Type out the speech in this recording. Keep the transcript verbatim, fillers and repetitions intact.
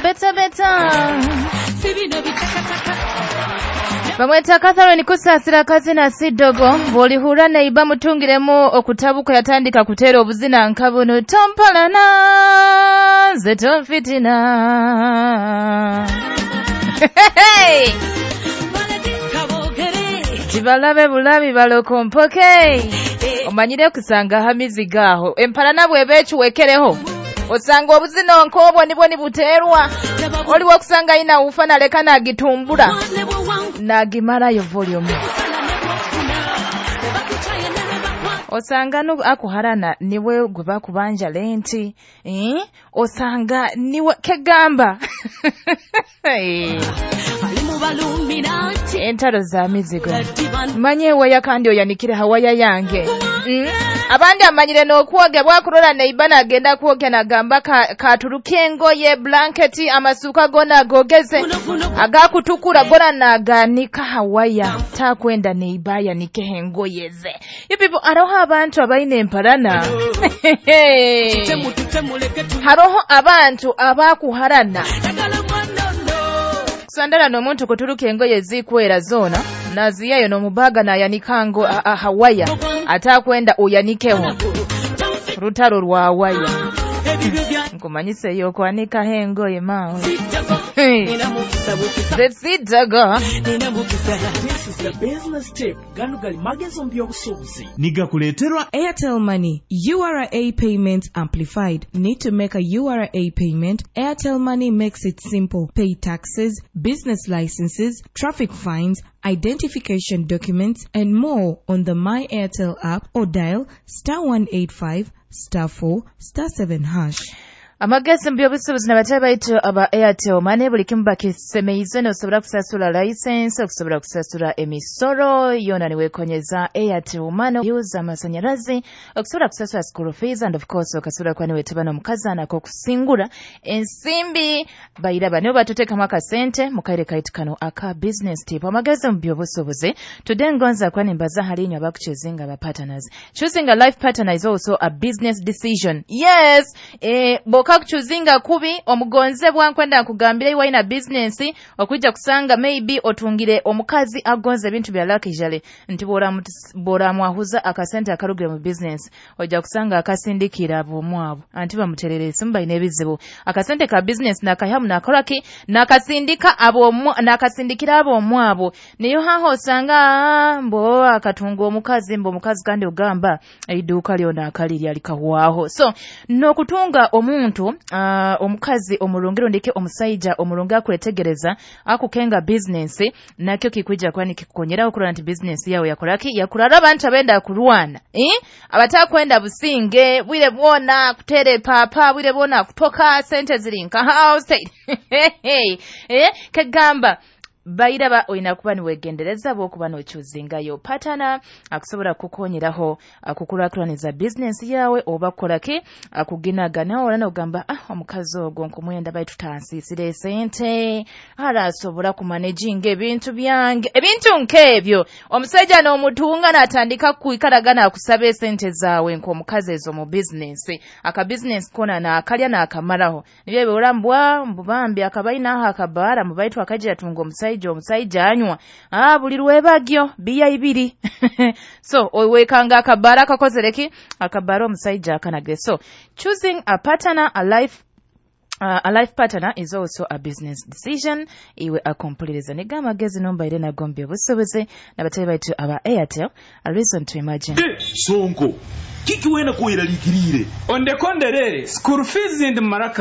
Better better. Bamweta Catherine Kusasira kazina sidogo bw'olihura neiba mutungiremu okutabuka yatandika kutera obuzina nkabuno tompalana nze tonfitina. Hey! Tibalabe bulabi balokompoke. Omanyire kusanga hamiziga aho empalana bw'eba ekiwekereho osanga obuzina nk'obwo nibwo nibuterwa oliwo kusanga ina ufa naleka nagitumbura nagimarayo volume osanga nu akuharana niwe gwe bakubanja lenti eh? Osanga niwe kegamba entaro za mizigo manye waya kandi oyanikire hawaya yange mm? Abandi amanyire n'okwoga bwakurora neibana agenda kwogya nagamba katuruke ka engoye blanketi amasuka gona agogeze agakutukura gona naganika hawaya takwenda neibaya nikehe engoye ze. You people aroho abantu abaine emparana haroho abantu abakuharana sandala n'omuntu kuturuka engoye zikwera zona naziyayo n'omubaga nayanikango hawaya atakwenda oyanikeho rutaro rwa waya nkumanyise yo kwanika hengoye mawe. Zesidaga. This is the business tip. Gano gali magezo mu by'obusuubuzi. Nigakuleeterwa Airtel Money. U R A payment amplified. Need to make a U R A payment? Airtel Money makes it simple. Pay taxes, business licenses, traffic fines, identification documents, and more on the My Airtel app or dial star one eight five star four star seven hash. Amagezi mu by'obusuubuzi n'abatali baitu aba Airtel Money buli kimu bakisemeize n'osobola kusasula license, okusobola kusasula emisoro yona niwekonyeza Airtel Money use amasanyalazi, okusobola kusasula school fees and of course okasobola kuba niwetaba n'omukazi akokusingura ensimbi bairaba nibo batuteekamu akasente mu kaire kaitu kano aka business tip. Amagezi mu by'obusuubuzi today ngonza kuba nimbaza hali inywe abakuchoosinga aba partners. Choosing a life partner is also a business decision. Yes, eh, boka kuchuzinga kubi omugonzebwa nkwenda nkugambire iwe ina business okujja kusanga maybe otungire omukazi agonze ebintu bya luxury nti bora mwahuza akasente akarugire mu business ojja kusanga akasindikira abomwabo anti bamuterere simba ine ebizibu akasente ka business nakahamu nakolaki nakasindika abo nakasindikira abomwabo niyo haho osanga mbo akatunga omukazi mbo omukazi kandi ogamba eiduka lyona akalirya likahwaho. So nokutunga omuntu uh, omukazi omurungiro ndike omusaija omurunga akuletegereza akukenga business nakyo kikuja kwani kikukonyera okurora nti business yawe yakoraki yakurara abantu abenda kurwana eh abatakwenda businge bwire bwona kutere papa bwire bwona kutoka sente zirinka house eh kegamba bairaba oyina kuba niwegendereza bwokuba nochuzingayo partner akusobola kukonyeraho akukulakulaniza business yawe oba kukolaki akuginagana ola nogamba ah omukazi ogwo nkumwenda baitu tansisire sente arasobola kumanaginga ebintu byange ebintu nk'ebyo omusajja n'omutunga n'atandika kuikaragana akusaba esente zaawe nk'omukazi ezo mu business aka business kona n'akalya n'akamaraho nibyo biolambwa mbubambi akabaina aho akabara mubaitu akagira tunga omusajja omusajja anywa ah buli lwebagyo biya ibiri so owekanga akabara akakozereki akabara omusajja akanage. So choosing a partner, a life Uh, a life partner is also a business decision. Iwe akompuliriza niga amagezi nombaire nagombye obusobozi n'abatali baitu aba Airtel, a reason to imagine. Eh, sonko kiki wena kuiralikirire ondekonderere school fees ndi maraka.